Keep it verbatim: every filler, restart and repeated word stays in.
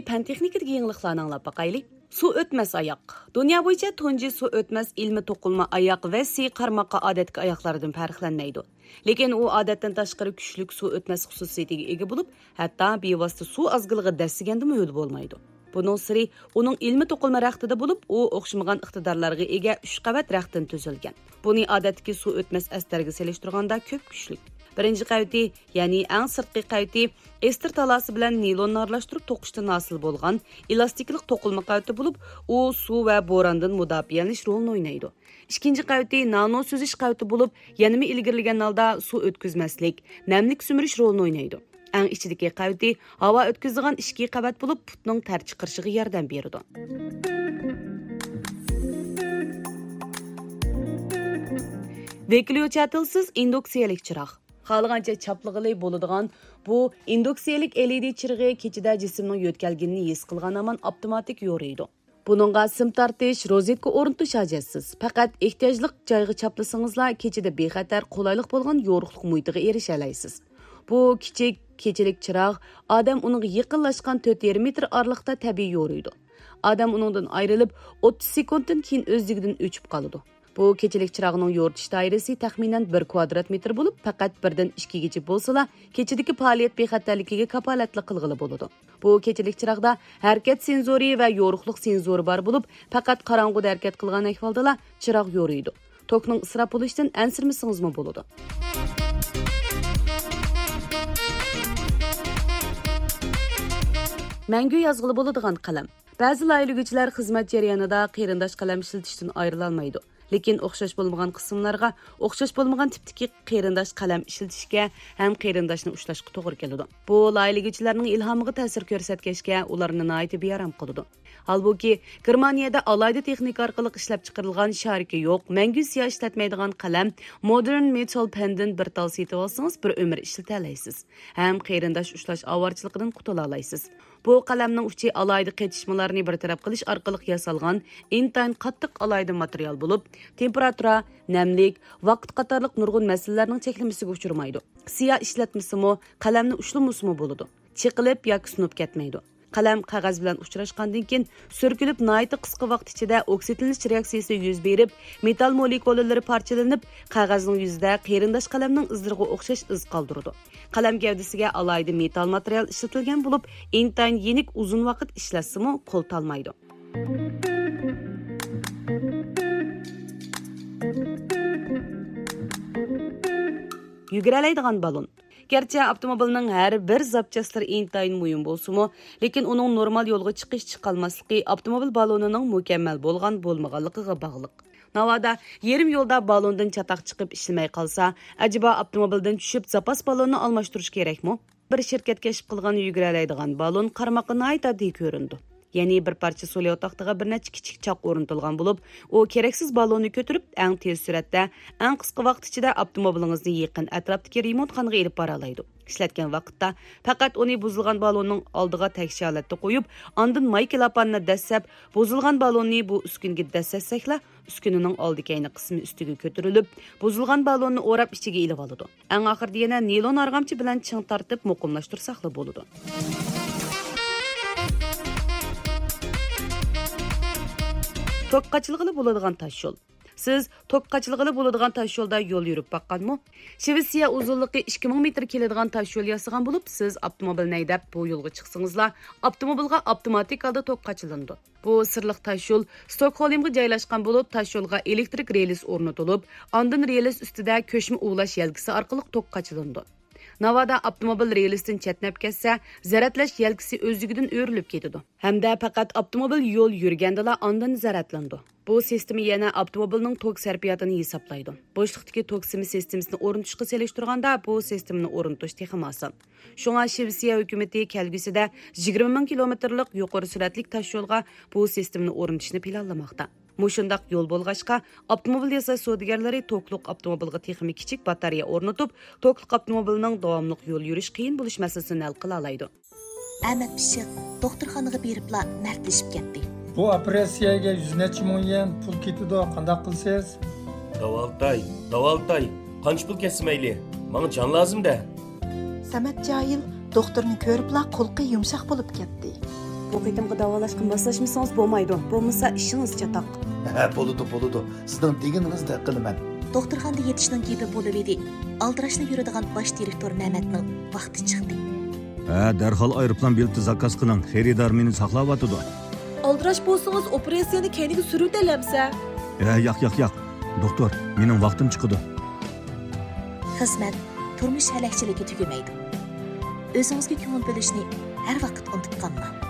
پەن تېخنىكىدىكى يېڭىلىقلارنى ئاڭلاپ باقايلى. سۇ ئۆتمەس ئاياق. دۇنيا بويىچە تۇنجى سۇ ئۆتمەس ئىلمىي توقۇلما ئاياق ۋەسسى قارىماققا ئادەتتىكى ئاياقلاردىن پەرقلەنمەيدۇ. لېكىن ئۇ ئادەتتىن تاشقىرى كۈچلۈك سۇ ئۆتمەس خۇسۇسىيىتىگە ئىگە بولۇپ، ھەتتا بىۋاسىتە سۇ ئازگىلىغا دەسسىگەندىمۇ ھۆل بولمايدۇ. بۇنىڭ سىرى ئۇنىڭ ئىلمىي توقۇلما رەختىدە بولۇپ، ئۇ ئوخشىمىغان ئىقتىدارلارغا ئىگە ئۈچ قەۋەت رەختتىن تۈزۈلگەن. بۇنى ئادەتتىكى سۇ ئۆتمەس ئەستەرگە سېلىشتۇرغاندا كۆپ كۈچلۈك. بىرىنچى قەۋىتى، يەنى ئەڭ سىرتقى قەۋىتى، ئېستېر تالاسى بىلەن نىلوننى ئارىلاشتۇرۇپ توقۇشتىن ھاسىل بولغان ئېلاستىكلىق توقۇلما قەۋىتى بولۇپ، ئۇ سۇ ۋە بوراندىن مۇداپىئەلىنىش رولىنى ئوينايدۇ. ئىككىنچى قەۋىتى نانو سۈزۈش قەۋىتى بولۇپ، يەنىمۇ ئىلگىرىلىگەن ھالدا سۇ ئۆتكۈزمەسلىك، نەملىك سۈمۈرۈش رولىنى ئوينايدۇ. ئەڭ ئىچىدىكى قەۋىتى ھاۋا ئۆتكۈزىدىغان ئىچكى قەۋەت بولۇپ، پۇتنىڭ تەر چىقىرىشىغا ياردەم بېرىدۇ. ۋېكليوچاتىلسىز ئىندۇكسىيەلىك چىراغ. خالىغانچە چاپلىغىلى بولىدىغان بۇ ئىندۇكسىيەلىك ئېلئىدى چىرىغى كېچىدە جىسىمنىڭ يۆتكەلگىنىنى ھېس قىلغان ھامان ئاپتوماتىك يورۇيدۇ. بۇنىڭغا سىم تارتىش، روزېتكا ئورنىتىش ھاجەتسىز. پەقەت ئېھتىياجلىق جايغا چاپلىسىڭىزلا، كېچىدە بىخەتەر، قولايلىق بولغان يورۇقلۇق مۇھىتىغا ئېرىشەلەيسىز. بۇ كىچىك، كېچىلىك چىراغ، ئادەم ئۇنىڭغا يېقىنلاشقان تۆت يېرىم مېتىر ئارىلىقتا تەبىئىي يورۇيدۇ. ئادەم ئۇنىڭدىن ئايرىلىپ، ئوتتۇز سېكۇنتتىن كېيىن ئۆزلۈكىدىن ئۆچۈپ قالىدۇ. بۇ كېچىلىك چىراغنىڭ يورۇتۇش دائىرىسى تەخمىنەن بىر كۋادرات مېتىر بولۇپ، پەقەت بىردىن ئىككىگىچە بولسىلا، كېچىدىكى پائالىيەت بىخەتەرلىكىگە كاپالەتلىك قىلغىلى بولىدۇ. بۇ كېچىلىك چىراغدا ھەرىكەت سېنزورى ۋە يورۇقلۇق سېنزورى بار بولۇپ، پەقەت قاراڭغۇدا ھەرىكەت قىلغان ئەھۋالدىلا چىراغ يورۇيدۇ. توكنىڭ ئىسراپ بولۇشىدىن ئەنسىرىمىسىڭىزمۇ بولىدۇ. مەڭگۈ يازغىلى بولىدىغان قەلەم. بەزى لايىھىلىگۈچىلەر خىزمەت جەريانىدا قېرىنداش قەلەم ئىشلىتىشتىن ئايرىلالمايدۇ. لېكىن ئوخشاش بولمىغان قىسىملارغا ئوخشاش بولمىغان تىپتىكى قېرىنداش قەلەم ئىشلىتىشكە ھەم قېرىنداشنى ئۇشلاشقا توغرا كېلىدۇ. بۇ لايىھىلىگۈچىلەرنىڭ ئىلھامىغا تەسىر كۆرسەتكەچكە، ئۇلارنى ناھايىتى بىئارام قىلىدۇ. ھالبۇكى، گېرمانىيەدە ئالاھىدە تېخنىكا ئارقىلىق ئىشلەپچىقىرىلغان شارىكى يوق، مەڭگۈ سىيا ئىشلەتمەيدىغان قەلەم مودېرن مېتال پەندىن بىر تال سېتىۋالسىڭىز، بىر ئۆمۈر ئىشلىتەلەيسىز ھەم قېرىنداش ئۇشلاش ئاۋارىچىلىقىدىن قۇتۇلالايسىز. بۇ قەلەمنىڭ ئۇچى ئالاھىدە قېتىشمىلارنى بىر تەرەپ قىلىش ئارقىلىق ياسالغان ئىنتايىن قاتتىق ئالاھىدە ماتېرىيال بولۇپ، تېمپېراتۇرا، نەملىك، ۋاقىت قاتارلىق نۇرغۇن مەسىلىلەرنىڭ چەكلىمىسىگە ئۇچرىمايدۇ. سىيا ئىشلەتمىسىمۇ، قەلەمنى ئۇشلىمىسىمۇ بولىدۇ. چېقىلىپ ياكى سۇنۇپ كەتمەيدۇ. قەلەم قەغەز بىلەن ئۇچراشقاندىن كېيىن، سۈركىلىپ ناھايىتى قىسقا ۋاقىت ئىچىدە ئوكسىدلىنىش رېئاكسىيىسى يۈز بېرىپ، مېتال مولېكۇلىلىرى پارچىلىنىپ، قەغەزنىڭ يۈزىدە قېرىنداش قەلەمنىڭ ئىزلىرىغا ئوخشاش ئىز قالدۇرىدۇ. قەلەم گەۋدىسىگە ئالاھىدە مېتال ماتېرىيال ئىشلىتىلگەن بولۇپ، ئىنتايىن يېنىك ئۇزۇن ۋاقىت ئىشلەتسىمۇ قول تالمايدۇ. يۈگۈرەلەيدىغان بالون. گەرچە ئاپتوموبىلنىڭ ھەر بىر زاپچاسلىرى ئىنتايىن مۇھىم بولسىمۇ، لېكىن ئۇنىڭ نورمال يولغا چىقىش چىقالماسلىقى ئاپتوموبىل بالونىنىڭ مۇكەممەل بولغان بولمىغانلىقىغا باغلىق. ناۋادا يېرىم يولدا بالوندىن چاتاق چىقىپ ئىشلىمەي قالسا، ئەجەبا ئاپتوموبىلدىن چۈشۈپ زاپاس بالوننى ئالماشتۇرۇش كېرەكمۇ؟ بىر شىركەت كەشىپ قىلغان يۈگۈرەلەيدىغان بالون قارىماققا ناھايىتى ئاددىي كۆرۈنىدۇ. يەنى بىر پارچە سولى ئوتاقتىغا بىر نەچچە كىچىك چاق ئورنىتىلغان بولۇپ، ئۇ كېرەكسىز بالوننى كۆتۈرۈپ، ئەڭ تېز سۈرئەتتە، ئەڭ قىسقا ۋاقىت ئىچىدە ئاپتوموبىلىڭىزنى يېقىن ئەتراپتىكى رېمونتخانىغا ئېلىپ بارالايدۇ. ئىشلەتكەن ۋاقىتتا پەقەت ئۇنى بۇزۇلغان بالوننىڭ ئالدىغا تەكشى ھالەتتە قويۇپ، ئاندىن ماي كىلاپاننى دەسسەپ، بۇزۇلغان بالوننى بۇ ئۈسكۈنىگە دەسسەتسەكلا، ئۈسكۈنىنىڭ ئالدى كەينى قىسمى ئۈستىگە كۆتۈرۈلۈپ، بۇزۇلغان بالوننى ئوراپ ئىچىگە ئېلىۋالىدۇ. ئەڭ ئاخىرىدا يەنە نىلون ئارغامچا بىلەن چىڭ تارتىپ مۇقىملاشتۇرساقلا بولىدۇ. توك قاچىلىغىلى بولىدىغان تاشيول. سىز توك قاچىلىغىلى بولىدىغان تاشيولدا يول يۈرۈپ باققانمۇ؟ شىۋېتسىيە ئۇزۇنلۇقى ئىككى مىڭ مېتىر كېلىدىغان تاشيول ياسىغان بولۇپ، سىز ئاپتوموبىلنى ھەيدەپ بۇ يولغا چىقسىڭىزلا، ئاپتوموبىلغا ئاپتوماتىك ھالدا توك قاچىلىنىدۇ. بۇ سىرلىق تاشيول ستوكھولمغا جايلاشقان بولۇپ، تاشيولغا ئېلېكتىرىك رېلىس ئورنىتىلىپ، ئاندىن رېلىس ئۈستىدە كۆچمە ئۇۋۇلاش يەلكىسى ئارقىلىق توك قاچىلىنىدۇ. ناۋادا ئاپتوموبىل رېلىستىن چەتنەپ كەتسە، زەرەتلەش يەلكىسى ئۆزلۈكىدىن ئۆرۈلۈپ كېتىدۇ ھەمدە پەقەت ئاپتوموبىل يول يۈرگەندىلا ئاندىن زەرەتلىنىدۇ. بۇ سىستېما يەنە ئاپتوموبىلنىڭ توك سەرپىياتىنى ھېسابلايدۇ. بوشلۇقتىكى توك سىمى سىستېمىسىنى ئورنىتىشقا سېلىشتۇرغاندا، بۇ سىستېمىنى ئورنىتىش تېخىمۇ ئاسان. شۇڭا شىۋېتسىيە ھۆكۈمىتى كەلگۈسىدە يىگىرمە مىڭ كىلومېتىرلىق يۇقىرى سۈرئەتلىك تاشيولغا بۇ سىستېمىنى ئورنىتىشنى پىلانلىماقتا. مۇشۇنداق يول بولغاچقا، ئاپتوموبىل ياساش سودىگەرلىرى توكلۇق ئاپتوموبىلغا تېخىمۇ كىچىك باتارېيە ئورنىتىپ، توكلۇق ئاپتوموبىلنىڭ داۋاملىق يول يۈرۈش قىيىن بولۇش مەسىلىسىنى ھەل قىلالايدۇ. ئەمەت پىششىق دوختۇرخانىغا بېرىپلا مەردلىشىپ كەتتى. بۇ ئوپېراتسىيەگە يۈز نەچچە مىڭ يۈەن پۇل كېتىدۇ، قانداق قىلىسىز؟ داۋالتاي، داۋالتاي، قانچە پۇل كەتسە مەيلى، ماڭا جان لازىم-دە. سەمەت جاھىل دوختۇرنى كۆرۈپلا قۇلىقى يۇمشاق بولۇپ كەتتى. بۇ قېتىمقى داۋالاشقا ماسلاشمىسىڭىز بولمايدۇ، بولمىسا ئىشىڭىز چاتاق. ھە، بولىدۇ، بولىدۇ. سىزنىڭ دېگىنىڭىزدەك قىلىمەن. دوختۇرخانىدا يېتىشنىڭ گېپى بولۇۋىدى. ئالدىراشلا يۈرىدىغان باش دىرېكتور مەمەتنىڭ ۋاقتى چىقتى. ھە، دەرھال ئايروپىلان بېلىتى زاكاز قىلىڭ، خېرىدار مېنى ساقلاۋاتىدۇ. ئالدىراش بولسىڭىز ئوپېراتسىيەنى كەينىگە سۈرۈۋېتەلەمسە؟ ھە، ياق، ياق، ياق. دوختۇر، مېنىڭ ۋاقتىم چىقىدۇ. خىزمەت، تۇرمۇش ھەلەكچىلىكى تۈگىمەيدۇ. ئۆزىڭىزگە كۆڭۈل بۆلۈشنى ھەر ۋاقىت ئۇنتۇپ قالماڭ.